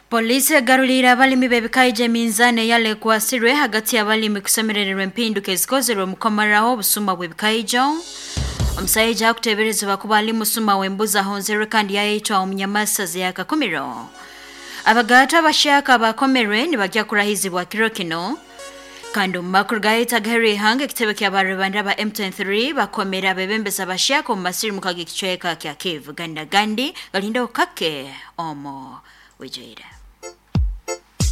Polisi egaruliire abalimi b'ebikaija eminzaani eyalekwasirwe hagati y'abalimi kusemerererwa empinduka ezikozerwe omu kukomaraho obusuma bw'ebikaijo. Omusaija akuteeberezebwa kuba ali musuma w'embuzi ahonzerwe kandi yaitwa omu Nyamasaza ya Kakumiro. Abagaata abahyaka abakomerwe nibagya kurahizibwa kiro kinu. Kandi omu makuru gaitu agaheru ihanga ekitebe ky'abarubanda ba M23 bakomera abebembezi abahyaka omu masirimuka g'ekicweka kya Kivu. Gandi na gandi galindeho kake omu bwijwire.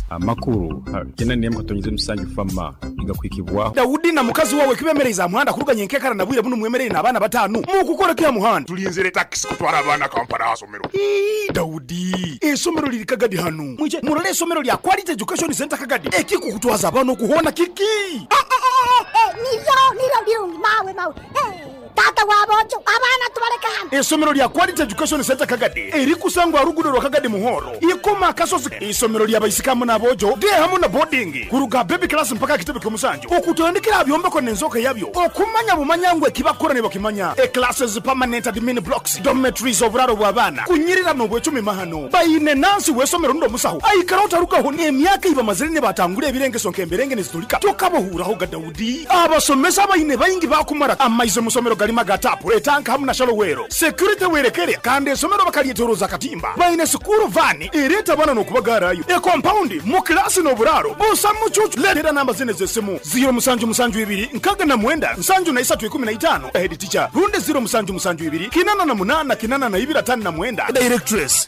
Amakuru 97 FAMA nigakuhikibwaho. Daudi na mukazi wawe kibemereize aha muhanda kuruga nyenkekara na bwire bunu mwemereire n'abaana batanu. Mukukora ki aha muhanda? Tulinzire takisi kutwara abaana Kampala aha somero. Ii, Daudi, eisomero liri Kagadi hanu. Mwije murole eisomero lya Quality Education Centre Kagadi. Ekikukutwaza abaana oku hoona kiki? Niryo, niryo birungi mawe, mawe. Taata wa boojo, abaana tubaleke hano. Eisomero lya Quality Education Centre Kagadi erikusangwa aha ruguudo rwa Kagadi Muhoro, Ikoma Akasozi. Eisomero lya baisiki hamu n'aboojo, day hamu na boarding, kuruga baby class mpaka aha kitebe ky'omusanju. Okutandikira aha byombeko n'enzooka yabyo, okumanya bumanya ngu ekibakukora nibakimanya. E classes, permanent admin blocks, dormitories, oburaaro bw'abaana, kunyirira n'obwecumi mahano. Baine nansi w'eisomero rundi omusaho, aikara otarugaho n'emyaka ei bamazire nibatangura ebirengeso nk'emberenge nizitulika. Tokabahuuraho ga Daudi. Abasomesa abaine baingi bakumara amaizi omu isomero garima ga tapu, etanka hamu na shalowero. Security werekere kandi esomero bakalyetoroza akatimba. Baine sukuru vani ereeta abaana n'okubagarayo. E compound mu kilasi n'oburaaro busa mucucu. Leetera namba zine z'esimu ziro musanju musanju ibiri nkaga na mwenda nsanju na isatu ikumi na itaano head teacher rundi ziro musanju musanju ibiri kinana na munana kinana na ibiri atano na mwenda directress.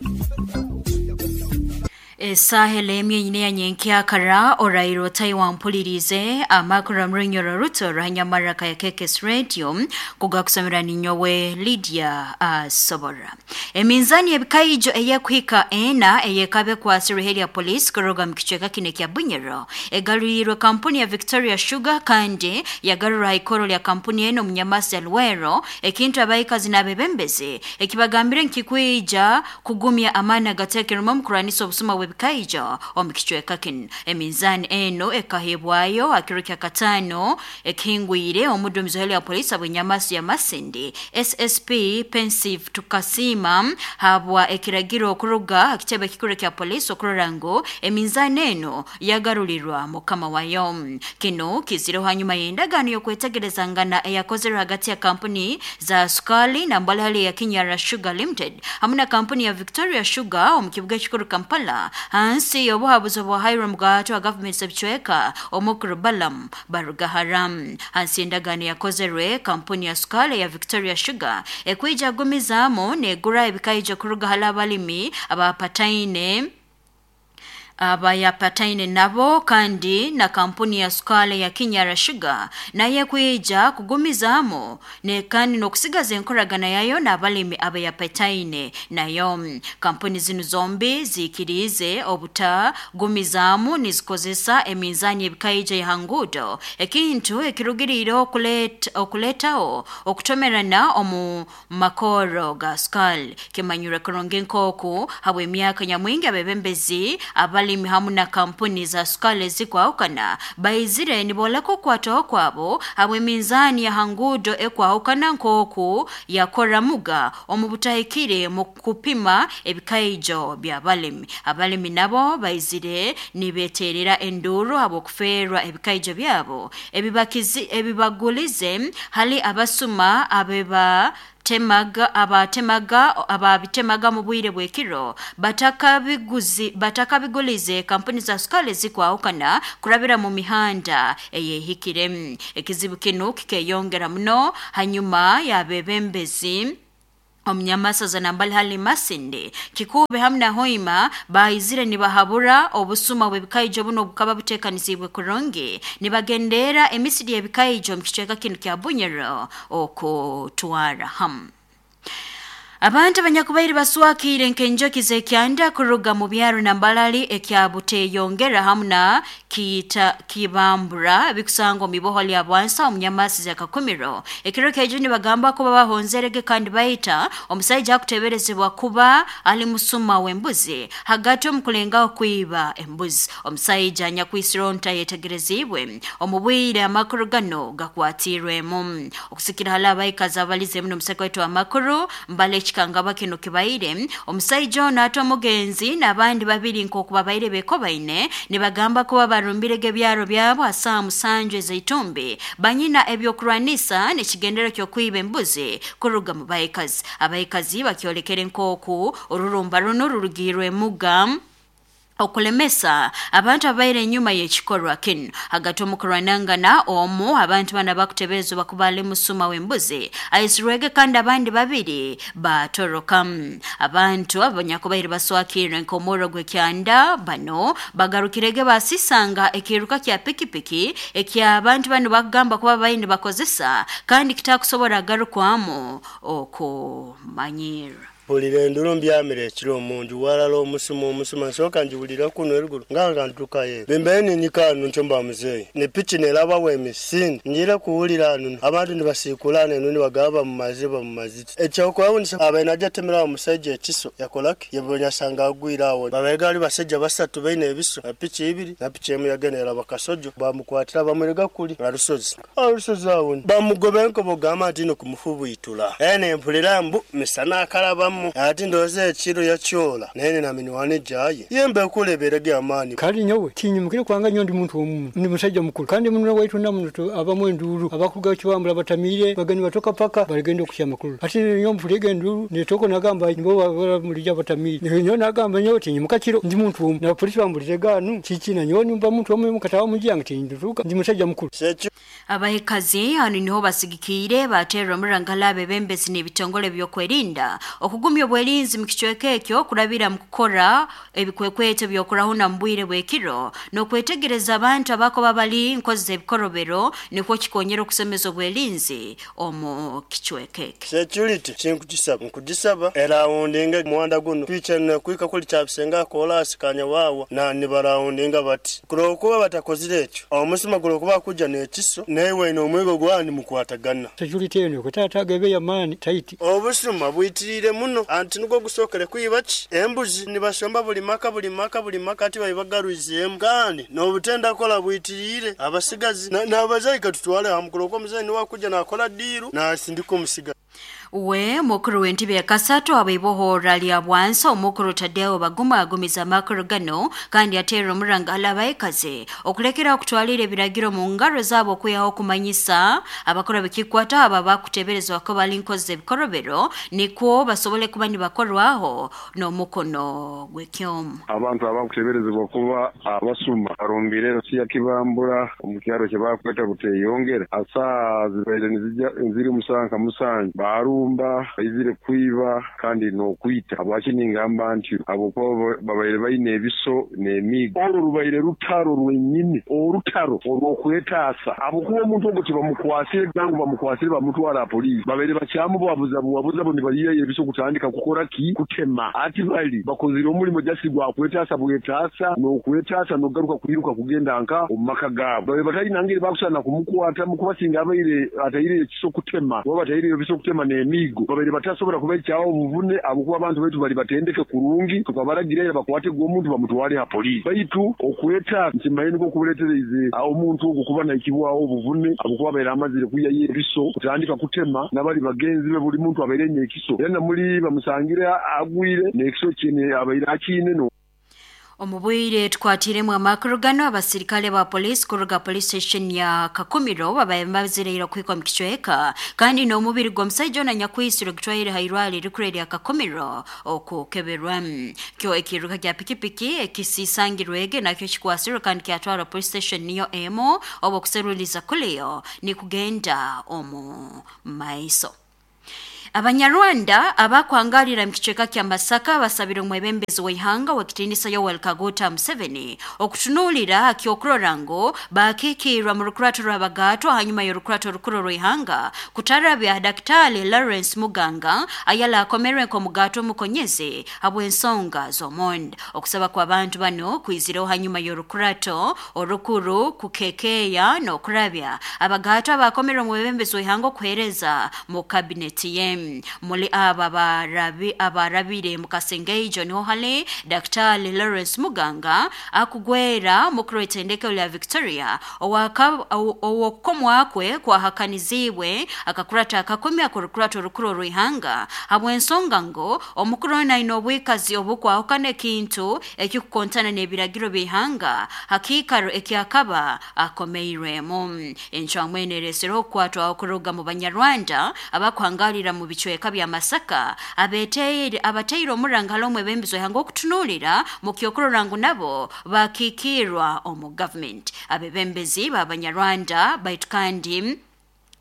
Esaaha emwe nyine ya nyenkyakara oraire otaiwampulirize amakuru amurunyoro ruto rwanyamaraka ya KKS Radio kugakusomera ninyowe Lydia Asobora. Eminzani ebikaijo eyekuhika ena eyekabe kwasirwe heri ya polisi kuruga mu kicweka kino kya Bunyoro egaruriirwe kampuni ya Victoria Sugar kandi yagarura ikoro lya kampuni eno omunyamasi ya Luwero, ekintu abaikazi n'abebembezi ekibagambire nkikwija kugumya amaani agateekerwemu omu kurwanisa obusuma bw'ebikaijo omu kicweka kinu. Eminzaani eno ekahebwayo hakiro kya kataano ekihingwire omuduumizi w'ihele ya polisi abw'enyamaso ya Masindi SSP Pensive Tukasiima habwa ekiragiro okuruga aha kitebe ekikuru kya polisi okurora ngu eminzaani eno yagarurirwa mukama wayo. Kinu kizireho hanyuma y'endagaano y'okwetegerezangana eyakozerwe hagati ya kampuni za sukali na mbalihali ya Kinyara Sugar Limited hamu na kampuni ya Victoria Sugar omu kibuga ekikuru Kampala hansi y'obuhabuzi bwa Hiram Gato wa gavumenti z'ebicweka omukuru Balaam Barugahara. Hansi y'endagaano yakozerwe kampuni ya sukali ya Victoria Sugar ekwija gumizaamu negura ebikaija kuruga hali abalimi abapataine abayapataine nabo kandi na kampuni ya sukali ya Kinyara Sugar naye kwija kugumizaamu ne kandi n'okusigaza enkoragana yayo n'abalimi abayapataine nayo. Kampuni zinu zombi ziikiriize obutagumizaamu nizikozesa eminzaani ebikaija ya nguudo, ekintu ekirugiriire okuleetaho okutomerana omu makooro ga sukali. Kimanyirwe kurungi nk'oku habw'emyaka nyamwingi abebembezi abalimi hamu na kampuni za sukali ezikwahukana baizire nibooleka okukwataho kwabo habw'eminzaani ya hanguudo ekwahukana nk'oku yakoramuga omu butahikire mu kupima ebikaijo by'abalimi. Abalimi nabo baizire nibeeterera enduuru habw'okufeerwa ebikaijo byabo ebibagulize hali abasuma abeba temaga abatemaga ababitemaga mu bwire bw'ekiro batakabigulize kampuni za sukali zikwahukana kurabira mu mihanda eyehikire. Ekizibu kinu kikeyongera muno hanyuma y'abebembezi omunyamasaza nambali hali Masindi Kikube hamu na Hoima baizire nibahabura obusuma bw'ebikaijo buno bukaba buteekanisiibwe kurungi nibagendera emisiri y'ebikaijo omu kicweka kinu kya Bunyoro okutwara hamu. Abantu abanyakubaire baswakiire nk'enjoki z'ekyanda kuruga mu byaro na Mbalali ekya Buteyongera hamu na Kibambura bikusangwa omu iboho lya Bwansa omu Nyamasi ya Kakumiro. Ekiro ky'ejo nibagamba kuba bahonzerege kandi baita omusaija akuteeberezebwa kuba ali musuma w'embuzi hagati omu kulengaho kwiba embuzi. Omusaija anyakwisire ntayetegereziibwe omu bwire amakuru gano gakwatiirwemu. Okusikira hali abaikazi abalizeemu n'omusaka waitu w'amakuru mbale ekikangabwa kino kibaire omusaija ono ate omugenzi n'abandi babiri nk'oku babaire bekobaine nibagamba kuba barumbirege ebyaro byabo asaa 7 ezaitumbi banyina ebyokurwanisa nekigendero ky'okwiba embuzi kuruga mu baikazi. Abaikazi bakyolekere nk'oku orurumba runo rurugirwe muga okulemesa abantu abaire enyuma y'ekikorwa kinu. Hagati omukurwanangana omu abantu bana bakuteberezwa bakubale musuma w'embuzi aisirwege kandi abandi babiri batoroka. Abantu abanyakubaire baswakirwe nk'omurro gw'ekyanda bano bagarukirege basisanga ekiruka kya pikipiki eky'abantu bano bakugamba kuba babaire nibakozesa kandi kitakusobora agarukwamu okumanyirra. Mpulira enduru mbyamire ekiro omunju walala omusuma omusuma nsooka njiwulira kuno eruguru nga ntukayo bimbaire ninyika hanu ntyo mba muzeeyi ni piki nerabaho emisinde njire kuwulira hanu abantu nibasiikulana enu nibagamba bamumaze bamumaze ekyokwewunyisa abaire najja atemera awo omusajja ekiso yakolaki yebonye asanga agwire awo babaire gali basajja basatu baine ebiso na piki ibiri na piki emu yagenda eraba kasojo bamukwatira bamurega kuli arusozi arusozi awo bamugoba enkobo gamba nti no kumufubwitula ene mpulira mbu misana akalabamu ati ndowooza ekiro yakyola naye na minwani jaye yembe kuleberege amaani. Kali nyowe tinyimukire kwanga nyo ndi muntu omu ndi musajja mukulu kandi muno waitu namuno abamu enduru abakuga kiwambula batamire bagani batoka paka baligenda okuhyama makulu ati nyo mpulege enduru netoko nagamba nibo mulija batamire nyo nagamba nyo tinyimuka kiro ndi muntu omu na polisi bambulire ganu kiki na nyo nimba muntu omu mukatawa mujyange tindutuka ndi musajja mukulu. Abahekazi hano niho basigikire baterwa omurangala abebembezi n'ebitongole by'okwerinda okugumya obwerinzi mu kicweka ekyo kurabira mu kukora ebikwekweto by'okurahuna mu bwire bw'ekiro n'okwetegereza abantu abakoba bali nkozi ebikorobero nikwo kikonyera okusemeza obwerinzi omu kicweka ekyo. Security kinkugisaba nkugisaba erawundinga muwanda guno twichana kuika kuli kyabisenga kolasi kanya wawa na nibarawundinga bati kulokuba batakozire ekyo omusima kulokuba kuja n'ekiso newe n'omwego gwani mukwatagana. Security eno kutata ya mani taiti obusuma bwitirire muno anti nugwo gusokere kwibaki embuzi nibasomba buli maka buli maka buli maka ati bayibagaruzemu kandi n'obutenda kola bwitirire abasigazi n'abazayi katutwale hamukulu ko muzayi niwe kuja nakola diru nasindika omusiga. We mukuru w'entebe ya kasatu abaibohora lya bwansa omukuru Tadeo Baguma agumiza amakuru gano kandi ateera omurangala abaikazi okulekera okutwalira ebiragiro mu ngaro zaabo okwihaho okumanyisa abakora bikikwata aba bakuteberezwa ko bali nkozi ebikorobero nikwo basobole kuba nibakorwaho n'omukono gw'ekyomu. Abantu abakuteberezebwa kuba abasuma barumbire Rusiya Kibambura omu kyaro kye bakweta Buteyongera asaa zibaire niziri musanka musanju barumba izire kwiba kandi nokwita abwakiningamba nti abo babaire baine ebiso n'emigo olwo rubaire rutaro rwenyini orutaro olwokwetaasa abo kuba omuntu ogwo tibamukwasire nangu bamukwasire bamutwara poliisi babaire bakyamu babuza buwabuza bo nibaliya ebiso kutandika kukora ki kutema ati bali bakozire omulimo jasi gwakwetaasa bwetaasa n'okwetaasa n'ogaruka kwiruka kugenda nka omu maka gaabo babaire batalina ngeri bakusana kumukwata mukubasinga abaire atayire ekiso kutema oba batayire ebiso kutema n'emigo babaire batasobola kubaikyawo obuvune abukuba abantu baitu bali batendeke kurungi tukabaragira bakwate gw'omuntu bamutwale ha poliisi baitu okweta nkimanyi niko kubuleetereize omuntu ogwo kuba naikibwawo obuvune abukuba abaire amazire kuyayo ebiso kutandika kutema n'abali bagenzi be buli muntu abaire enya ekiso era namuli bamusangire agwire n'ekiso kyene abaire akiine no. Omubwire tukwatiremu amakuru gano abasirikale ba polisi kuruga police station ya Kakumiro babaye bazireira kwikwa mu kicweka kandi n'omubiri gw'omusajja ono nyakwisiro gutwaire hairwali rikureri ya Kakumiro okukeberwa kyo ekiruka kya pikipiki ekisisangirwege nakyo kikwasiro kandi kyatwara police station niyo emo obo kuseruliza kuleyo ni kugenda omu maiso. Abanyarwanda abakwangalira mu kicweka kya Masaka basabira omwebembezi w'ihanga w'ekitinisa Yoweri Kaguta Museveni okutunuulira akyokurora ngu bakiikirwa mu rukurato rw'abagatwa hanyuma y'orukurato rukuru rw'ihanga kutarabya Daktari Lawrence Muganga ayala akomerwe nk'omugato omukonyezi habw'ensonga z'omonda. Okusaba kw'abantu bano kwizireho hanyuma y'orukurato orukuru kukekeya n'okurabya abagatwa abakomerwe omwebembezi w'ihanga okuheereza mu kabineti ye. Nebi. Muli aba abarabire mu Kasengeijo niho hali Daktari Lawrence Muganga akugwera mukuru w'itendekero lya Victoria owokukomwakwe kwahakanizibwe akakurata akakomya akurukurata orukuru orw'ihanga habw'ensonga ngo omukuru ono aine obwikazi obukwahukana ekintu ekikukontana n'ebiragiro by'ihanga hakiikaro ekyakaba akomeirwemu. Encwamu eno ereesereho okukwatwaho kuruga mu Banyarwanda abakuhangalira mu bicweka bya Masaka abateire omuranga hali omwebembezi w'ihanga okutunuulira mu kyokurora ngu nabo bakiikirwa omu gavumenti. Abebembezi b'Abanyarwanda baitu kandi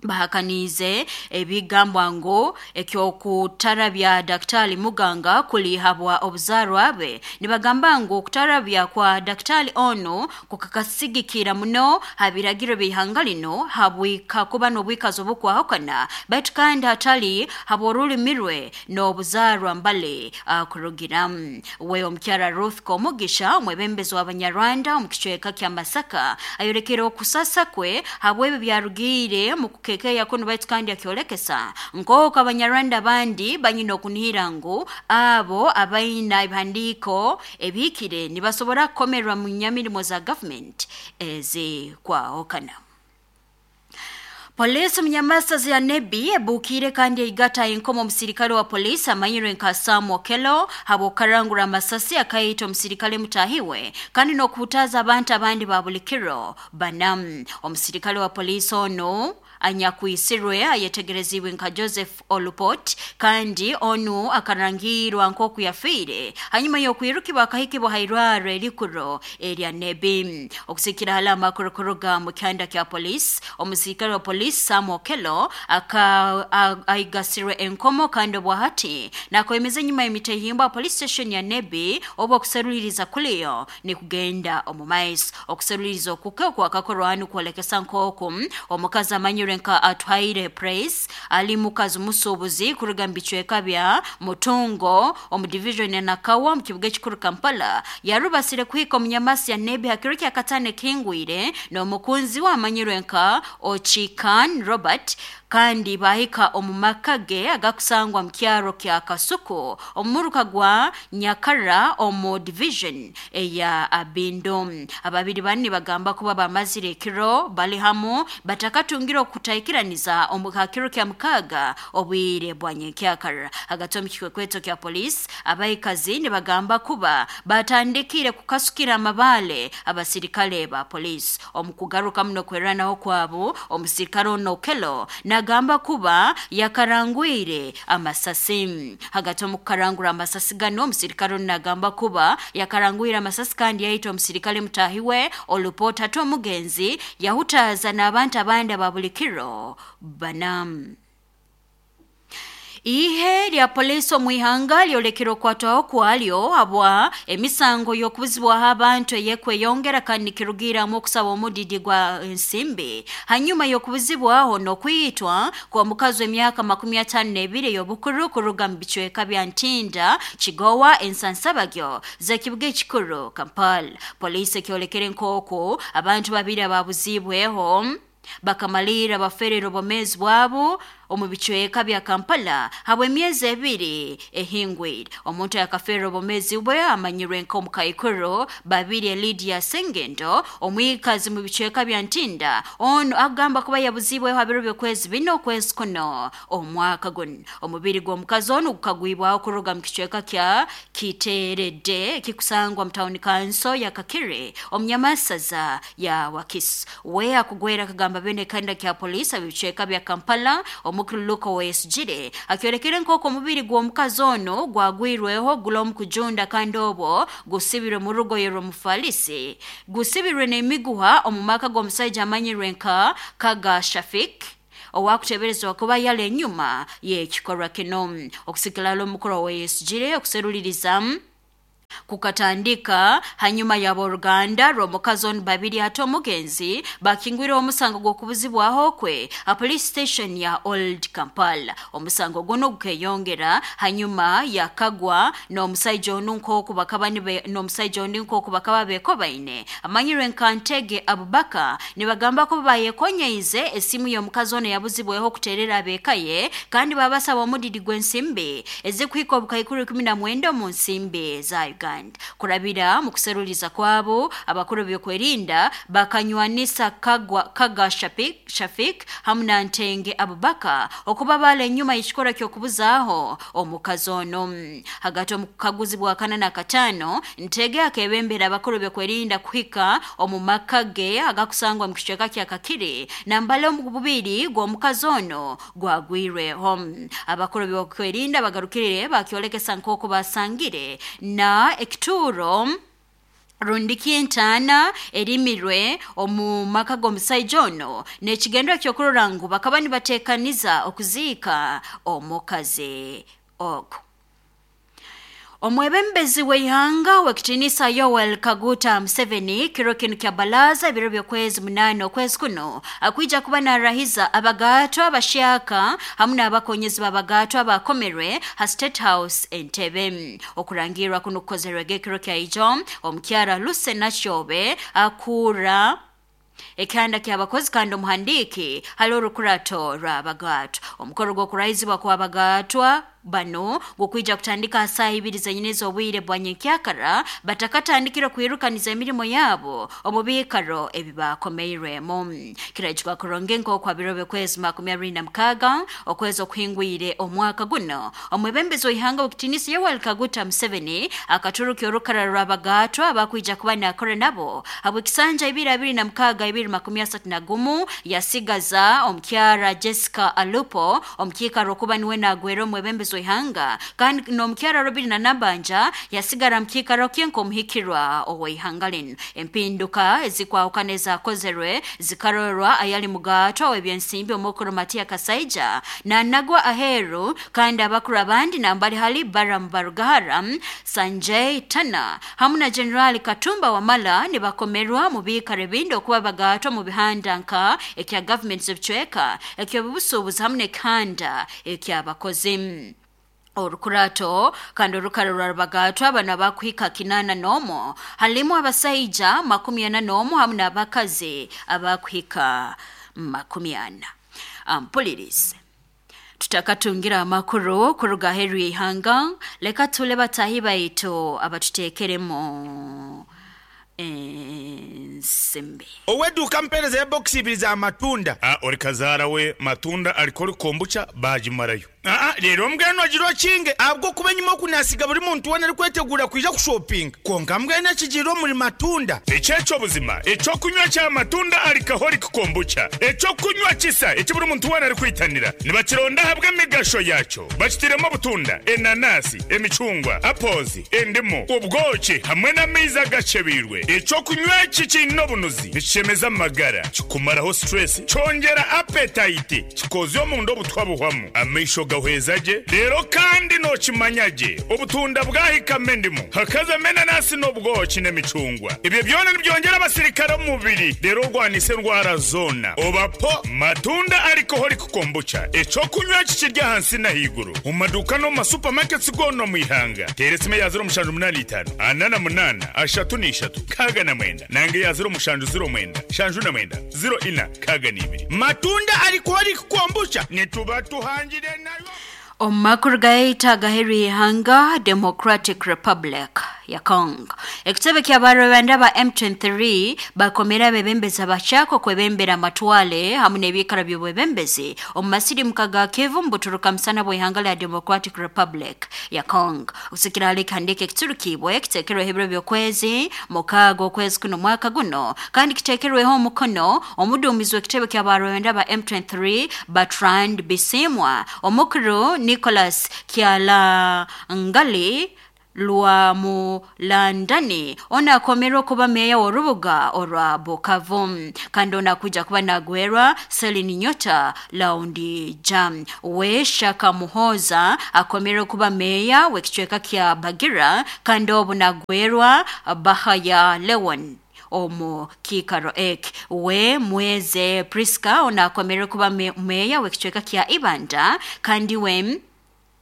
bahakaniize ebigambwa ngu ekyokutarabya Daktari Muganga kulihabwa obuzaarwa bwe. Nibagamba ngu okutarabya kwa Daktari onu kukakasigikira muno ha biragiro by'ihanga lino habwika kuba n'obwikazi obukwahukana baitu kandi hatali habw'orulimi rwe n'obuzaarwa mbale akurugiramu. We omukyara Ruth Komugisha omwebembezi w'Abanyarwanda omu kicweka kya Masaka ayorekere okusasa kwe habw'ebyo byarugiire mu kukekeya kuno baitu kandi akyolekesa nk'oku Abanyarwanda abandi banyine okunihira ngu abo abaina ebihandiiko ebihikire nibasobora kukomerwa mu nyamirimo za gavumenti ezikwahukana. Polisi omunyamasasi ya Nebi ebukiire kandi eigata enkomo omusirikale wa polisi amanyirwe nka Sam Okello habw'okukarangura amasasi akaita omusirikale mutahiwe kandi n'okuhutaza abantu abandi ba buli kiro bana. Omusirikale wa polisi ono anyakwisirwe ayetegerezibwe nka Joseph Olupot kandi onu akarangirwa nk'oku yafiire hanyuma y'okwirukibwa akahikibwa hairwaro erikuro erya Nebi. Okusikira hali amakuru kuruga mu kyanda kya polisi, omusirikale wa polisi Sam Okello aigasirwe enkomo kandi obwahati nakwemeza enyuma y'emitehimbwa police station ya Nebi obu okuseruliriza kuliyo nikugenda omu maiso. Okuseruliriza okuke okwakakorwa hanu kwolekesa nk'oku omukazi amanyirwe nka Atuhaire Praise ali mukazi musuubuzi kuruga mu bicweka bya Mutungo omu division ya Nakawa mu kibuga ekikuru Kampala yarubasire kuhika omunyamasi ya Nebi ha kiro kya katano ekihingwire n'omukunzi we amanyirwe nka Ochikan Robert kandi bahika omu maka ge agakusangwa mu kyaro kya Kasuku omu muruka gwa Nyakara omu division eya Abindo. Ababiri banu nibagamba kuba bamazire ekiro bali hamu batakatungire okutaikiraniza omu hakiro kya mukaga obwire bwa nyenkyakara. Hagati omu kikwekweto kya polisi abaikazi nibagamba kuba batandikire kukasukira amabaale abasirikale ba polisi. Omu kugaruka muno kweranaho kwabo omusirikale ono Okello nagamba kuba yakarangwire amasasi. Hagati omu kukarangura amasasi gano omusirikale ono nagamba kuba yakarangwire amasasi kandi yaita omusirikale mutahiwe Olupota ate omugenzi yahutaza n'abantu abandi aba buli kiro bana. Ihe lya polisi omu ihanga lyolekere okwatwaho kwalyo habwa emisango y'okubuzibwaho abantu eyekweyongera kandi nikirugiramu okusaba omudidi gwa ensimbi hanyuma y'okubuzibwaho n'okwitwa kwa mukazi w'emyaka 52 ey'obukuru kuruga mu bicweka bya Ntinda, Kigowa, Ensansabagyo z'ekibuga ekikuru Kampala. Polisi ekyolekere nk'oku abantu babiri ababuzibweho bakamalira baferera obwomeezi bwabo omu bicweka bya Kampala habw'emyezi ebiri ehingwire. Omuntu yakafeerera obwomeezi bwe amanyirwe nk'omukaikuru Babirye Lydia Sengendo omwikazi mu bicweka bya Ntinda. Ono agamba kuba yabuzibweho ha biro by'okwezi bina okwezi kuno omwaka guno. Omubiri gw'omukazi onu gukagwibwaho kuruga mu kicweka kya Kiteeredde ekikusangwa mu tawuni kanso ya Kakiri omunyamasaza ya Wakiso. We akugwera akagamba bene kanda kya polisi ab'ebicweka bya Kampala omukuru Luka Owoyesigyire akyolekere nk'oku omubiri gw'omukazi ono gwagwirweho gula omu kujunda kandi obwo gusibirwe mu rugoye rw'omufalisi gusibirwe n'emiguha omu maka g'omusaija amanyirwe nka Kaga Shafik owakuteberezebwa kuba yali enyuma y'ekikorwa kino. Okusikirala omukuru Owoyesigyire okuseruliriza Kukatandika hanyuma y'aboruganda rw'omukazi onu babiri ate omugenzi bakingwire omusango gw'okubuzibwaho kwe a police station ya Old Kampala. Omusango guno gukeyongera hanyuma yakagwa n'omusaija onu nk'oku bakaba n'omusaija ondi nk'oku bakaba bekobaine amanyirwe nka Ntege Abubaka. Nibagamba ko bayekonyeize esimu y'omukazi ono yabuzibweho kuterera ab'eka ye, kandi babasaba omudidi gw'ensimbi ezikuhika obukaikuru 19 omu nsimbi za Uganda. Kurabira mu kuseruliza kwabo, abakuru byokwerinda bakanywanisa Kagwa Kaga Shafik, Shafik hamu na Ntenge Abubaka okuba bala enyuma y'ekikora ky'okubuzaaho omukazi ono. Hagati omu kukaguzi bwa kana na katano, Ntege akebembera abakuru byokwerinda kuhika omu maka ge agakusangwa mu kicweka kya Kakiri nambale omu bubiri gw'omukazi ono gwagwirweho. Abakuru byokwerinda bagarukire bakyolekesa nk'oku basangire na ekituuro rundi ky'entaana erimirwe omu maka g'omusaija ono n'ekigendero ky'okurora ngu bakaba nibateekaniza okuziika omukazi ogu. Omwebembezi w'eihanga w'ekitiinisa Yoweri Kaguta Museveni kiro kinu kya balaza ebiro by'okwezi 8 okwezi kuno akwija kuba narahiza abagaatwa abashyaka hamu n'abakonyezi b'abagaatwa abakomerwe ha State House Entebbe. Okurangirwa kuno kukozerwege ekiro kya ijo omukyara Lucy Nakyobe akuura ekihanda ky'abakozi kandi omuhandiiki hali orukurato rw'abagaatwa. Omukoro gw'okurahizibwa kw'abagaatwa bano gukwija kutandika ha saaha ibiri zenyini ez'obwire bwa nyenkyakara batakatandikire kwirukaniza emirimo yabo omu biikaro ebi bakomeirwemu. Kiraijuka kurungi nk'oku ha biro by'okwezi 26 okwezi okuhingwire omwaka guno, omwebembezi w'ihanga w'ekitiinisa Yoweri Kaguta Museveni akaturukya orukara rw'abagaatwa abakwija kuba nakora nabo habw'ekisanja 2026 2031, yasigaza omukyara Jessica Alupo omukiikaro okuba niwe nagwera omwebembezi w'ihanga, kandi n'omukyara Robina Nabanja yasigara mu kiikaro kye nk'omuhikirwa ow'ihanga linu. Empinduka ezikwahukana ezakozerwe zikarorwa ayali mugaatwa w'ebyensimbi omukuru Matia Kasaija nanagwa aheeru, kandi abakuru abandi nambali hali Balaam Barugahara, Sanjay Tana hamu na Generali Katumba Wamala nibakomerwa mu biikaro ebindi okuba bagaatwa mu bihanda nka ekya gavumenti z'ebicweka, eky'obusuubuzi hamu n'ekihanda eky'abakozi. Orukurato kandi orukara rw'abagaatwa bano abakuhika 81 halimu abasaija 41 hamu n'abakazi abakuhika 40. Ampulirize. Tutakatungira amakuru kuruga aheeru y'ihanga, leka tule batahi baitu abatuteekeremu ensimbi. Ow'eduuka ampeereza ebokisi ibiri za matunda. A Ori kazaara we matunda arikora kombucha baagimarayo. Aa Reero mbwenu ogire okinge ahabw'okuba enyima oku naasiga buri muntu weena arikweteguura kwija kushopinga. Kwonka mbwenu ekigiire omuri matunda. Eki eky'obuzima, eky'okunywa kya matunda alcoholic kombucha, eky'okunywa kisa eki buri muntu weena arikwitanira. Nibakironda ahabw'emigasho yaakyo. Bakitairemu obutunda, enanasi, emicungwa, apples, endimu, obwoki hamwe n'amaizi agakyebeirwe. Eky'okunywa eki kiine obunuzi, nikishemeza amagara, kikumaraho stress, kyongyera appetite, kikoozya omunda obutwa buhwamu, amaisho gahweza gye, reero kandi nookimanya gye obutunda bwahikamu endimu, hakazamu enanasi n'obwoki n'emicungwa. Ebyo byona nibyongyera abasirikare omu mubiri reero orwanise endwara zoona. Oba po Matunda Alcoholic Kombucha, eky'okunywa eki kiri ahansi n'ahaiguru omu maduuka n'omu ma supermarkets goona omu ihanga. Teera esimu eya 0785 48 33 69 nanga eya 0709 79 04 62. Matunda Alcoholic Kombucha nituba tuhangire nayo. Omu makuru gaitu agaheeru y'ihanga, Democratic Republic ya Congo, ekitebe ky'abarwebanda ba M23 bakomera abebembezi abakyako kwebembera amatwale hamu n'ebiikaro by'obwebembezi omu masirimuka ga Kivu mu buturuka musana bw'ihanga lya Democratic Republic ya Congo. Okusikira hali ekihandiiko ekiturukibwe kiteekerweho ebiro by'okwezi 6 okwezi kuno mwaka guno, kandi kiteekerweho omukono omuduumizi w'ekitebe ky'abarwebanda ba M23 Bertrand Bisimwa, omukuru Nicholas Kyalangali Lwamulandani ono akomerwe okuba meeya w'orubuga orwa Bukavu, kandi ono akuja kuba nagwerwa Celine Nyota Laundi Jam. We Shaka Muhoza akomerwe kuba meeya w'ekicweka kya Bagira, kandi obu nagwerwa Bahaya Leon omu kiikaro eki. We Mweze Priska ono akomerwe kuba meeya w'ekicweka kya Ibanda, kandi we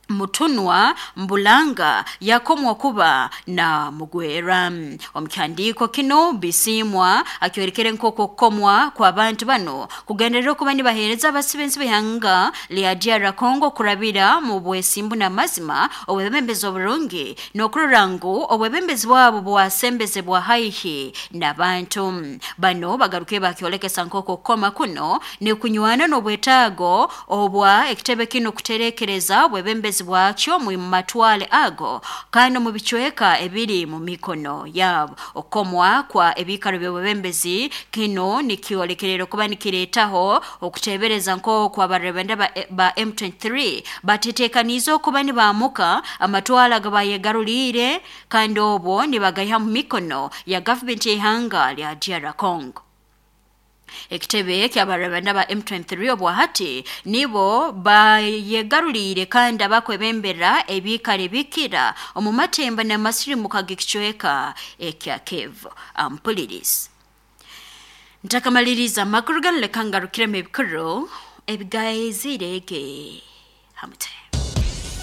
Mutunwa Mbulanga yakomwa kuba na mugwera. Omu kihandiiko kino Bisimwa akyorekere nk'oku okukomwa kw'abantu bano kugenderera okuba nibaheereza abasibensi b'ihanga lya DR Congo kurabira mu bwesimbu n'amazima, obwebembezi oburungi n'okurora ngu obwebembezi bwabo bwasembezebwa haihi n'abantu. Bano bagaruke bakyolekesa nk'oku okukoma kuno nikunywana n'obwetaago obwa ekitebe kino kuterekereza obwebembezi bwakyo mu matwale ago kandi mu bicweka ebiri mu mikono yabo. Okukomwa kwa ebiikaro by'obwebembezi kino nikyolekerera okuba nikireetaho okuteebereza nk'oku abarebenda ba M23 batetekaniize okuba nibaamuka amatwale agabayegaruliire, kandi obwo nibagaiha mu mikono ya gavumenti y'ihanga lya DR Congo. Ekitebe ky'abarabanda ba M23 obwahati nibo bayegaruliire kandi abakwebembera ebiikaro ebikira omu matemba n'amasirimuka g'ekicweka ekya Kivu. Ampulirizi ntakamaliriza amakuru ganu, leka ngarukiremu ebikuru ebigaizire ge hamute.